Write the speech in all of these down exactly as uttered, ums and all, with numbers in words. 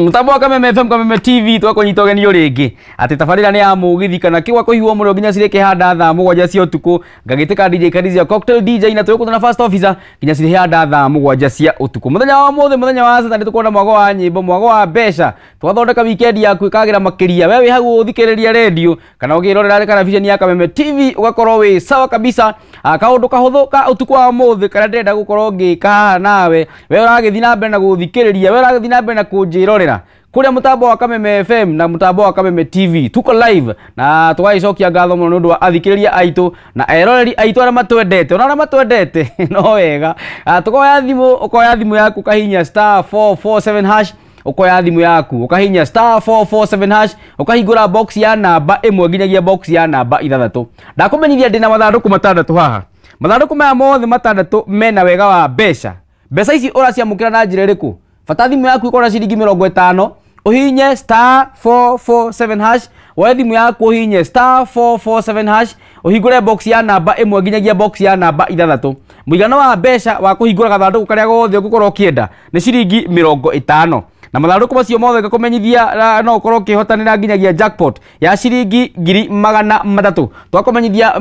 Mutambo wa Kameme F M, Kameme T V twakũnyita ũgeni rĩngĩ atĩ tabarĩra nĩ ya mũgithi kana kĩgwa kũhiũhwo mũno nginya cirĩkĩhanda thaa mũgwanja cia ũtukũ. Ngagĩtĩka D J Kadizia Cocktail D J na twĩgũkũtana na First Officer nginya cirĩhanda thaa mũgwanja cia ũtukũ. Mũthenya wa ũmũthĩ, mũthenya wa Saturday, tũkuona mwago wa nyĩmbo, mwago wa mbeca. Twathondeka weekend yaku ĩkagĩra makĩria. We wĩ hau ũthikĩrĩria radio kana ũkĩrorera karabiceni ya Kameme T V ũgakorwo wĩ sawa kabisa. Kaũndũ kahũthũ ka ũtukũ wa ũmũthĩ karĩa ndĩrenda gũkorwo ngĩka haha nawe, we ũragĩthiĩ na mbere na gũthikĩrĩria, we ũragĩthiĩ na mbere na kũnjĩrorera kũrĩa mũtambo wa Kameme F M na mũtambo wa Kameme T V. Tuko live na tũgagĩcokia ngatho mũno nĩ ũndũ wa athikĩrĩria aitũ na eroreri aitũ arĩa matwendete, ona arĩa matwendete no wega. Tũkoya thimũ, ũkoya thimũ yaku ũkahihinya star four four seven hash, ukoya thimu yaku ukahinya star four four seven hash, ukahingũra box ya namba ĩmwe nginyagia box ya namba ithathatũ. Ndakũmenyithia ndĩna mathandũkũ matandatũ haha. Mathandũkũ maya mothe matandatũ mena wega wa mbeca. Mbeca ici ũraciamũkĩra na njĩra ĩrĩkũ? Bata thimũ yaku ĩkorwo na ciringi mĩrongo ĩtano, ũhihinye star four four seven hash, woe thimũ yaku ũhihinye star four four seven hash, ũhingũre box ya namba ĩmwe nginyagia box ya namba ithathatũ. Mũigana wa mbeca wa kũhingũra gathandũkũ karĩa gothe ũngĩkorwo ũkĩenda nĩ ciringi mĩrongo ĩtano. Na mathandũkũ macio mothe ngakũmenyithia no ũkorwo ũkĩhotanĩra nginyagia jackpot ya ciringi ngiri magana matatũ. Twakũmenyithia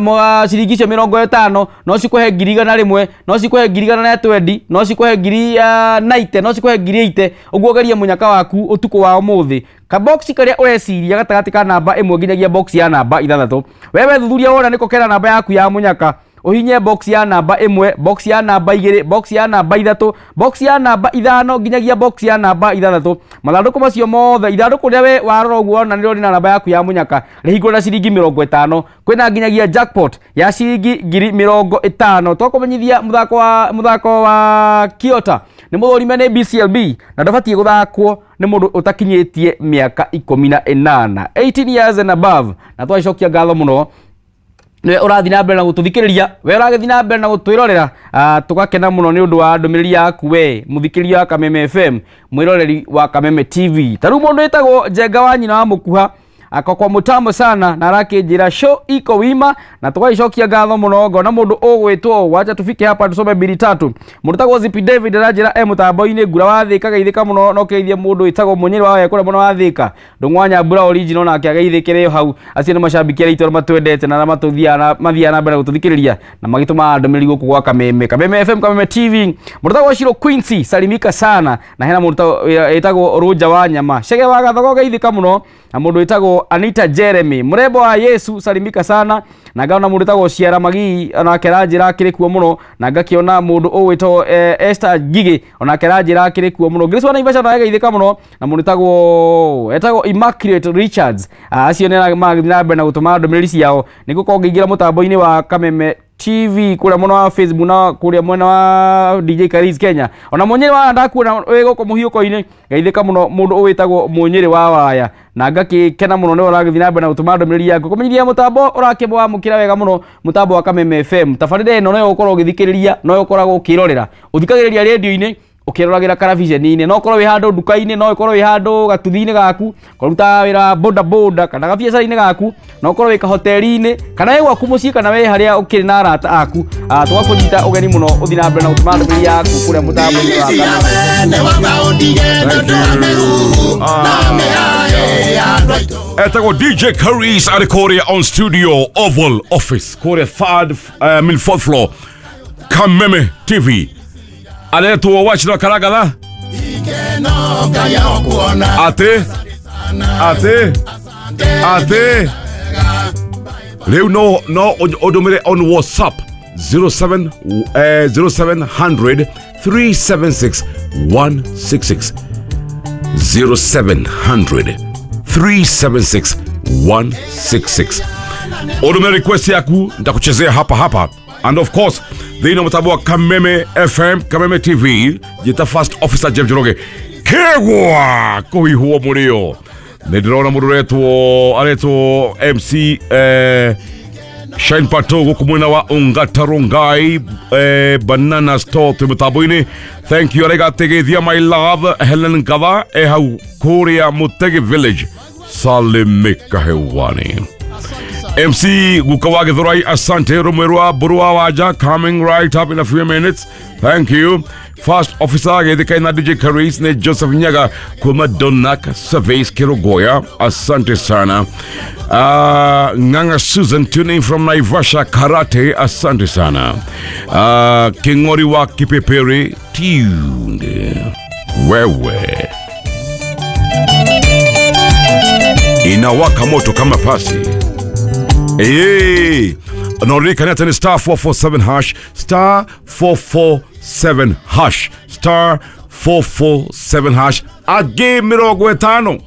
ciringi icio mĩrongo ĩtano no cikũhe ngiri igana rĩmwe, no cikũhe ngiri igana rĩa twendi, no cikũhe ngiri naite, no cikũhe ngiri ĩite. Ũguo geria mũnyaka waku ũtukũ wa ũmũthĩ. Kaboxi karĩa ũreciria gatagatĩ ka namba ĩmwe nginyagia box ya namba ithathatũ, wewe thuthuria wona nĩko kena namba yaku ya mũnyaka, uhinye box ya namba ĩmwe, box ya namba igĩrĩ, box ya namba ithatũ, box ya namba ithano nginyagia box ya namba ithathatũ. Mathandũkũ macio mothe, ithandũkũ rĩrĩa we warora ũguo wona nĩrĩo rĩna namba yaku ya mũnyaka, rĩhingũre na ciringi mĩrongo ĩtano. Kwĩna nginyagia jackpot ya ciringi ngiri mĩrongo ĩtano. Twakũmenyithia mũthako wa mũthako wa Kiota nĩ mũthũrime nĩ B C L B na ndũbatiĩ gũthakwo nĩ mũndũ ũtakinyĩtie mĩaka ikũmi na ĩnana, eighteen years and above. Na twacokia ngatho mũno nĩwe ũrathiĩ na mbere na gũtũthikĩrĩria, we ũragĩthiĩ na mbere na gũtwĩrorera. Tũgakena mũno nĩ ũndũ wa ndũmĩrĩri yaku we mũthikĩrĩria wa Kameme F M, mwĩroreri wa Kameme T V. Ta rĩu mũndũ wĩtagwo Njenga wa nyina wa Mũkuha akokwa mũtambo sana na arakĩnjĩra show iko wima, na tũgagĩcokia ngatho mũno. Ngona mũndũ ũgwĩtwo, wacha tufike hapa tusome mbili tatu. Mũndũ tagwo Zipi David aranjĩra e mũtambo-inĩ ngura wa Thĩka, geithĩka mũno no kĩgeithie mũndũ wĩtagwo Mũnyĩrĩ wa Wekũrĩa mũno wa Thĩka, Ndũng'wa Nyambura original, nake ageithĩkĩre hau. Acio nĩ macambĩki arĩa aitũ arĩa matwendete na arĩa matũthiaga mathiaga na mbere gũtũthikĩrĩria na magĩtũmaga ndũmĩrĩri gũkũ gwa Kameme, Kameme F M, Kameme T V. Mũndũ tagwo Shiro Quincy salimika sana, na hena mũndũ wĩtagwo Rũnja wa Nyama, Chege wa Gathogo geithĩka mũno, na mũndũ wĩtagwo Anita Jeremy, Mrembo wa Yesu salimika sana, na ngaona mũndũ wĩtagwo Ciara Magii onake aranjĩra akĩrĩ kuo mũno, na ngakĩona mũndũ ũgwĩtwo Esther Ngigĩ onake aranjĩra akĩrĩ kuo mũno. Grace wa Naivasha nawe geithĩka mũno, na mũndũ wĩtagwo etagwo Immaculate Richards. Acio nĩ marathiĩ na mbere na gũtũma ndũmĩrĩri ciao. Nĩngũkorwo ngĩingĩra mũtambo-inĩ wa Kameme T V kũrĩa mwena wa Facebook na kũrĩa mwena wa D J Kariz Kenya. Ona Mũnyĩrĩ wa ndakuona wĩ gũkũ mũhiũko-inĩ, geithĩka mũno mũndũ ũwĩtagwo Mũnyĩrĩ wa Waya, na ngakĩkena mũno nĩwe ũragĩthiĩ na mbere na gũtũma ndũmĩrĩri yaku. Kũmenyithia mũtambo ũrakĩmwamũkĩra wega mũno, mũtambo wa Kameme F M. Tabarĩra ĩno noyo ũkorwo ũgĩthikĩrĩria, noyo ũkoragwo ũkĩrorera. Ũthikagĩrĩria radio-inĩ, ũkĩroragĩra karabiceni-inĩ, no ũkorwo wĩ handũ nduka-inĩ, no ũkorwo wĩ handũ gatuthi-inĩ gaku, kũrutaga wĩra wa boda boda kana gabiacara-inĩ gaku, no ũkorwo wĩ kahoteri-inĩ, kana wĩ gwaku mũciĩ, kana wĩ harĩa ũkĩrĩ na arata aku. Tũgakũnyita ũgeni mũno ũthiĩ na mbere na gũtũma ndũmĩrĩri yaku kũrĩa mũtambo-inĩ wa Kameme. Etagwo D J Kariz arĩ kũrĩa on studio Oval Office kũrĩa third, uh, I mean fourth floor Kameme T V. Aretwo wachira karagatha ate ate ate rĩu no no ũndũmĩre on WhatsApp zero seven eh, zero seven hundred three seven six one six six, zero seven hundred three seven six one six six. Ũndũmĩre request yaku nitakuchezea hapa hapa. And of course, thĩinĩ mũtambo wa Kameme F M, Kameme T V, jita First Officer Jeff Njoroge. Kegwa kũhihwo mũrĩo. Nĩ ndĩrona mũndũ ũretwo aretwo M C eh, Shine Pato gũkũ mwena wa Ongata Rongai eh, Banana Store twĩ mũtambo-inĩ. Thank you araiga atĩ my love Helen Ngatha e hau kũrĩa Mũtegi Village, salimika hewani. M C Guka wa Githurai, asante. Rumwerwa Burua Waja coming right up in a few minutes. Thank you. First officer agethikaina na D J Karis ne Joseph Nyaga kuma Donak Surveys Kerogoya, asante sana. Uh, Nganga Susan tuning from Naivasha Karate, asante sana. Uh, Kingori wa Kipepere tuned. Wewe inawaka moto kama pasi. Hey, naurika ni star four four seven hash, star four four seven hash, star four four seven hash. Age mirongo etano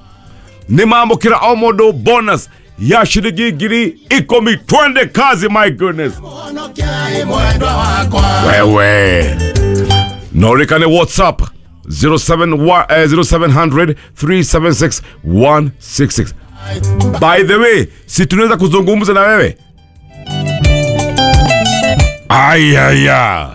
ni mambo kila omodo bonus ya shilingi ngiri ikumi. Twende kazi, my goodness. Wewe naurika ni WhatsApp zero seven one, uh, zero seven hundred three seven six one six six. By the way, si tunaweza kuzungumza na wewe? Ayaya.